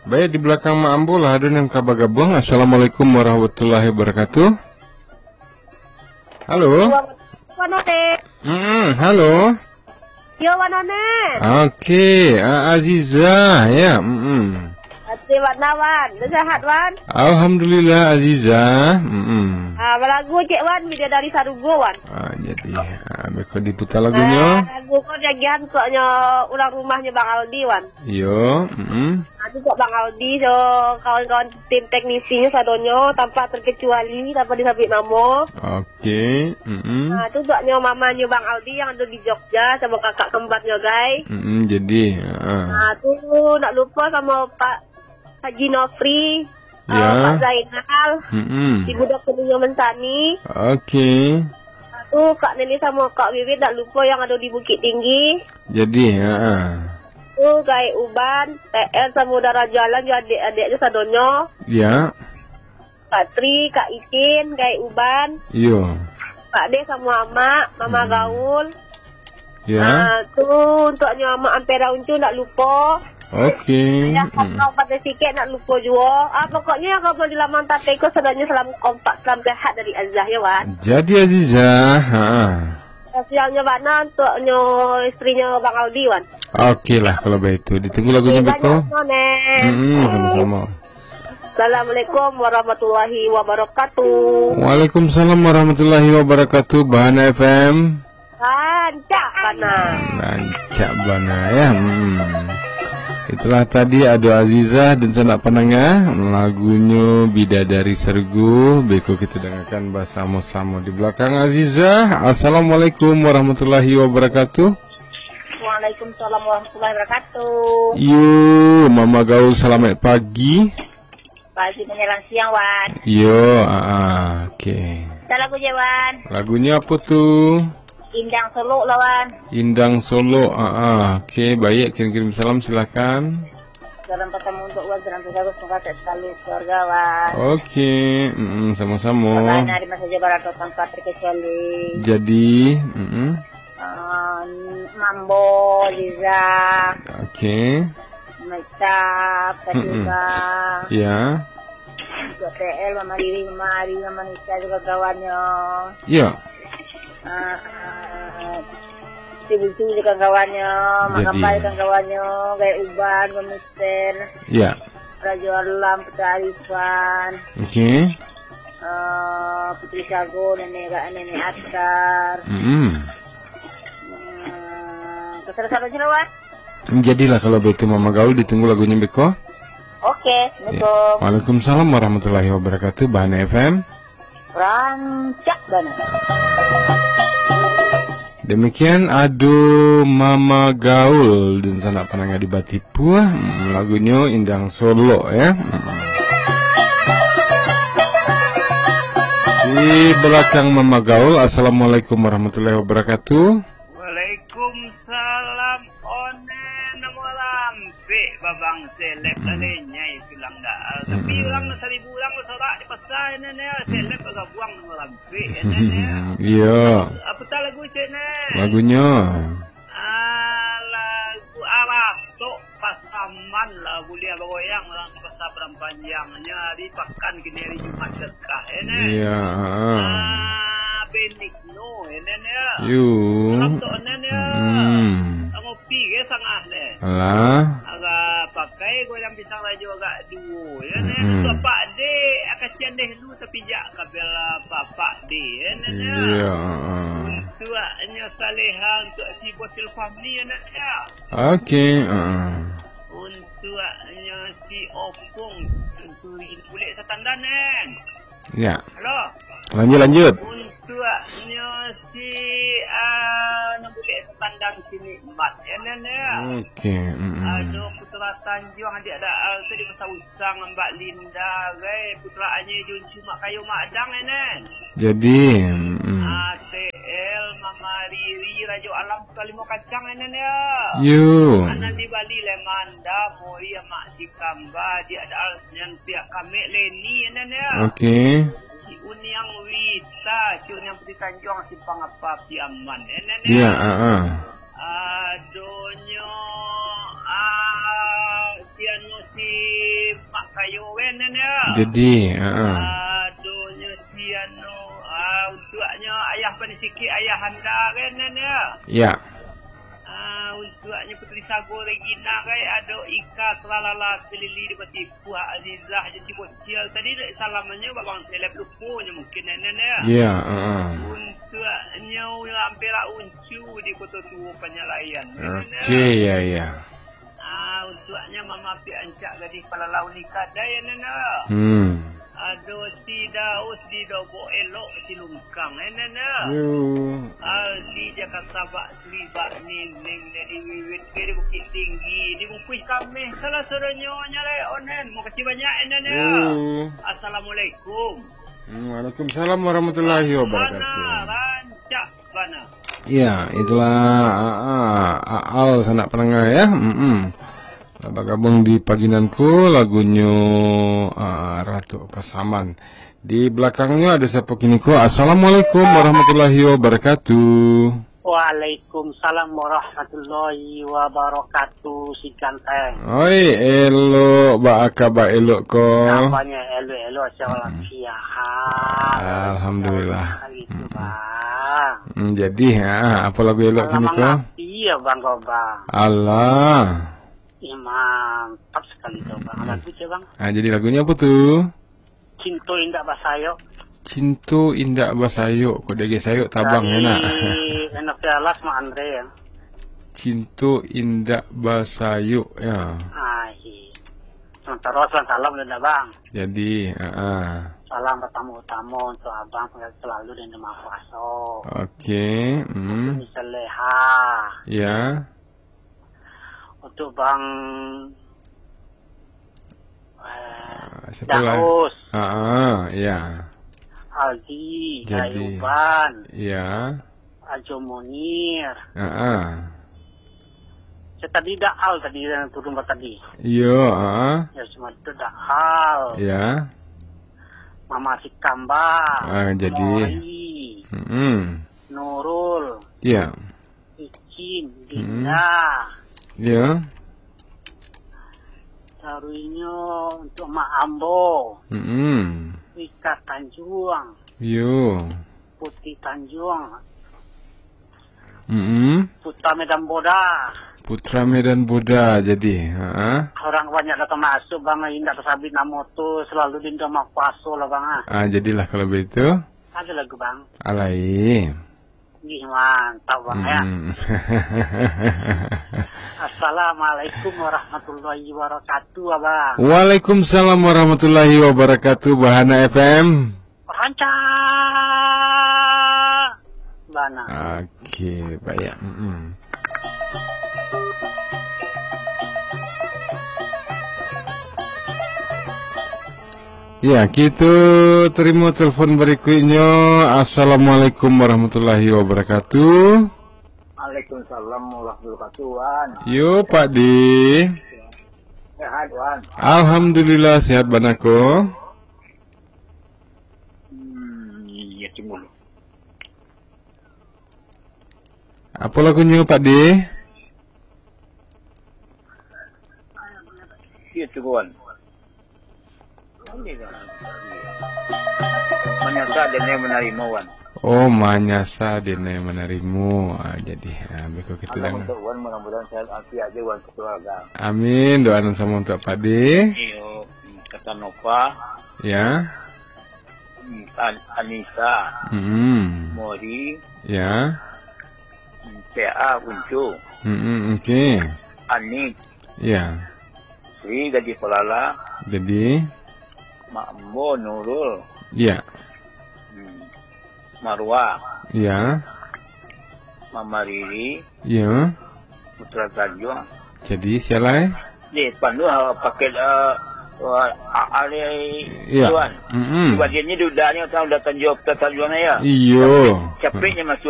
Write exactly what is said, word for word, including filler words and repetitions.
Baik, di balakang Mak Ambo lah ado nan ka bagabuang. Assalamualaikum warahmatullahi wabarakatuh. Halo. Wan Onet. Mm-mm, halo. Yo, Wan Onet. Oke, A-, Aziza, ya. Mm-mm. Ati Wan Awan, udah sehat, Wan? Alhamdulillah, Aziza. Mm-mm. Ah, balagu cek, Wan, Bidadari Sarugo, Wan. Ah, jadi, ah, beko diputar lagunyo. Ah, lagu ko diagiahan untuaknyo urang rumahnyo Bang Aldi, Wan. Yo, mm-mm. Ah, tu buat Bang Aldi, so, kawan-kawan tim teknisinyo sadonyo, tanpa terkecuali, tanpa disabut namo. Oke, mm-mm. Ah, tu buatnyo mamanyo Bang Aldi yang ado di Jogja, samo kakak kembarnyo, gai. Mm-mm, jadi, ah. Ah, tu nak lupo samo Pak Haji Nofri, Ya. ah, Pak Zainal, Mm-mm. si budak kuningnyo Mensani. Oke. Ah, tu Kak Neni samo Kak Wiwit, nak lupo yang ado di Bukittinggi. Jadi, ah, ah. Tu, Gaek Uban, T L Samudra Raja Alam jo adek-adeknyo sadonyo. Ya. Kak Tri, Kak Ikin, Gaek Uban. Iyo. Kak De samo Amak, Mama Hmm. Gaul. Ya. Ah, tu untuaknyo Amak Ampera Uncu, ndak lupo. Oke. Ya, Mm. Kak Patai Sikek ndak lupo juo. Ah, pokoknyo yang kawan di laman tapeko sadonyo salam kompak, salam sehat dari Azah, ya, Wan. Jadi Aziza, ha. Spesialnyo bana untuaknyo istrinyo Bang Aldi, Wan. Oke lah, kalau baitu. Ditunggu lagunyo Oke, beko. Banyak, Nonek. Mm-mm, samo-samo. Assalamualaikum warahmatullahi wabarakatuh. Waalaikumsalam warahmatullahi wabarakatuh, Bahana F M. Rancak bana. Rancak bana, ya. Mm. Itulah tadi ado Aziza dan sanak pandanga, lagunyo Bidadari Sarugo, beko kito dangakan basamo-samo di balakang Aziza. Assalamualaikum warahmatullahi wabarakatuh. Waalaikumsalam warahmatullahi wabarakatuh. Yo, Mama Gaul, salamaik pagi. Pagi manyalang siang, Wan. Yo, ah, ah, oke. Minta lagu je, Wan. Lagunyo apo tu? Indang Solok lah, Wan. Indang Solok, ah, ah, oke, baik, kirim-kirim salam, silakan. Salam pertama untuk Wan, salam sejahtera, semoga sehat selalu keluarga, Wan. Oke, mm-mm, samo-samo. Bagaimana di masa Jawa Barat tanpa terkecuali. Jadi, mm-mm. Ah, Mambo, Liza. Oke. Mecap, Mm-mm. Katiba. Ya. Untuk T L, Mama Riri, Mama Ari, Mama Nisa, juga kawannya. Ya. Ah, ah, si Buntu juga kawannya, Mak Jadi. Kapai juga kawannya, Gaek Uban, Mama Mister. Ya. Rajo Alam, Putra Arifan. Oke. Ah, Putri Sago, Nenek Ra-, Nenek Askar. Mm-mm. Hmm, kasar-kasar aja lah, Wan. Jadilah kalau begitu, Mama Gaul, ditunggu lagunyo beko. Oke, Ya. Assalamualaikum. Waalaikumsalam warahmatullahi wabarakatuh, Bahana F M. Rancak bana. Demikian ado Mama Gaul dan sanak pandanga di Batipuah. Hmm, lagunyo Indang Solok, ya. Hmm. Di balakang Mama Gaul, Assalamualaikum warahmatullahi wabarakatuh. Waalaikumsalam, Onet, namo lampek, babang seleb Hmm. lah, lenyai tulang dah. Tapi Hmm. urang saribu urang basorak di pasar, Onet, Hmm. seleb bagabuang namo lampek, Onet, ya. Iyo. Apo tak lagu cek, Onet? Lagunyo? Ah, lagu Aratok Pasaman lah, buliah bagoyang urang di pasar Padang Panjang. Nyo hari pakan kini hari Jumat Berkah, Onet. Iyo, ha. Ah, Benik No, Onet, ya. Yo. Salam tu, Onet, ya. Hmm. Ngopi ke sangah, Onet? Alah. Agak pakai goyang pisang rajo agak duo, ya, Onet. Mm-mm. Bapak dek, akacian deh lu, tapi jak kabel, ah, bapak dek, ya, Onet, ya. Iya, ha. Untuaknyo saleha, untuak si Bosil Fahmi, Onet, ya. Oke, ha. Untuaknyo si Opung, Senturi, Bulek Satandan, Onet. Ya. Halo. Lanjut, lanjut. Untuaknyo si, ah, nan bulek sapandang si Nikmat, ya, Nan, ya. Oke, mm-mm. Ado Putra Tanjuang, adik Daal tu di Pasar Usang, Mbak Linda, gai, Putra Anye, Juncu, Mak Kayo, Mak Dang, ya, Nan. Jadi, mm-mm. A T L, Mama Riri, Rajo Alam, Putra Limo Kacang, ya, Nan, ya. Yo. Anan di Bali, Lemanda, Mori, Mak Dikamba, adik Daal, Nyan pihak kami Leni, ya, Nan, ya. Oke. Si Uniang Wita, si Uniang Putih Tanjuang, Simpang Apa, Piaman, ya, Nan, ya. Iya, ah, ah. Adonyo, ah, Si anu, si Mak Kayo kan, Nan, ya? Jadi, ha, ha. Adonyo si anu, ah, untuaknyo ayah Pani Sikik, ayah anda kan, Nan, ya? Ya. Ah, untuaknyo Putri Sago Regina kan, ado Ika Kelalala Kelili di Batipuah, Azizah Jati Bocil. Tadi dek salamannyo Babang Seleb lupo nyo mungkin, Nan, ya? Ya, ha, ha. Untuaknyo Ampera Uncu di Koto Tuo Panyalaian, Nan, ya? Oke, ya, ya. Ah, untuaknyo Mama Api Ancak Gadih Palalau Nikadai, Nan, ya. Hmm. Ado si Daus di Dobok Elok, si Lungkang, eh, Nan, ya. Yo. Aldi Jakarta Bak Sri Bak Ning, Ning dari Wiwit ke di Bukit Tinggi, di Bungkuih Kameh, salah sadonyo nya lai, onen. Makasih banyak, eh, Nan, ya. Yo. Assalamualaikum. Hmm, waalaikumsalam warahmatullahi wabarakatuh. Bana, rancak bana. Ya, itulah, ah, ah, Aal sanak pandanga, ya. Mm-mm. Lah bagabuang di pagi nan ko, lagunyo, ah, Ratu Pasaman. Di balakangnyo ado siapo kini ko? Assalamualaikum warahmatullahi wabarakatuh. Waalaikumsalam warahmatullahi wabarakatu, si ganteng. Oi, elok, baa kaba elok ko? Kabanyo elok-elok, sehat walafiat. Alhamdulillah. Gitu, Bang. Hmm, jadi, ha, apo lagu elok kini ko? Alah, mangati ya, Bang, ko, Bang. Alah. Ih, mantap sekali tu, Bang. Hmm. Lagu cek, Bang. Ah, jadi lagunyo apo tu? Cinto Indak Basayok. Cinto Indak Basayok, kok dek sayok tabang. Dari enak. Enoknya Alas, Mak Andre, ya. Cinto Indak Basayok, ya. Ah, iya. Sementara salam, salam dulu, Bang. Jadi, ah, ah. Salam pertama-tama untuk Abang, selalu di rumah puasa. Oke, hmm. Untuk Mister Leha. Ya. Untuk Bang, eh, ah, siapa lagi? Daus. Ah, ah, ya. Aldi, jadi. Ayuban. Ya. Ajo Munir. Ah, ah. Saya tadi Daal tadi yang turun tadi. Iyo, ah. Ya, cuma itu Daal. Ya. Mama Sikamba. Ah, jadi. Mori. Mm-mm. Nurul. Ya. Icin, hmm. Dinda. Ya. Taruihnyo untuk Mak Ambo. Mm-mm. Rika Tanjuang. Yo. Putih Tanjuang. Mm-mm. Putra Medan Boda. Putra Medan Boda, jadi. Ha. Orang banyak datang masuk, Bang. Indak tasabik namo tu, selalu di rumah puasa lah, Bang, ah. Ah, jadilah kalau begitu. Ada lagu, Bang. Alai. Ih, mantap, Bang, ya. Hmm. Assalamualaikum warahmatullahi wabarakatuh, Abang. Waalaikumsalam warahmatullahi wabarakatuh, Bahana F M. Rancak bana. Oke, baik. Mm-mm. Ya, kita terima telepon berikutnya. Assalamualaikum warahmatullahi wabarakatuh. Waalaikumsalam warahmatullahi wabarakatuh, Wan. Yo, Pak Di. Sehat, Wan. Alhamdulillah, sehat bana ko. Hmm, iya, tunggu dulu. Apa lagunyo, Pak Di? Iya, tunggu, Wan. Manyasa denai manarimo, Wan. Oh, manyasa denai manarimo. Ah, jadi, ah, beko kita. Salam untuk Wan, mudah-mudahan sehat afiat aja, Wan, sekeluarga. Amin. Doa nan sama untuk Pak Di. Iyo, kata Nova. Ya. An-, Anissa. Hmm. Mori. Ya. T A Kuncu. Hmm, oke. Anik. Ya. Sri Gadih Pelala. Jadi. Mak Ambo Nurul. Ya. Hmm. Marwah. Ya. Mama Riri. Ya. Putra Tanjung. Jadi, sialai? Di depan tu, ah, paket, ah, ah, ah, Ya. Tuan. Mm-mm. Sebab dia ni dudaknya tahu dah Tanjung, Putra Tanjung ya. Iyo. Capek, capeknya masuk.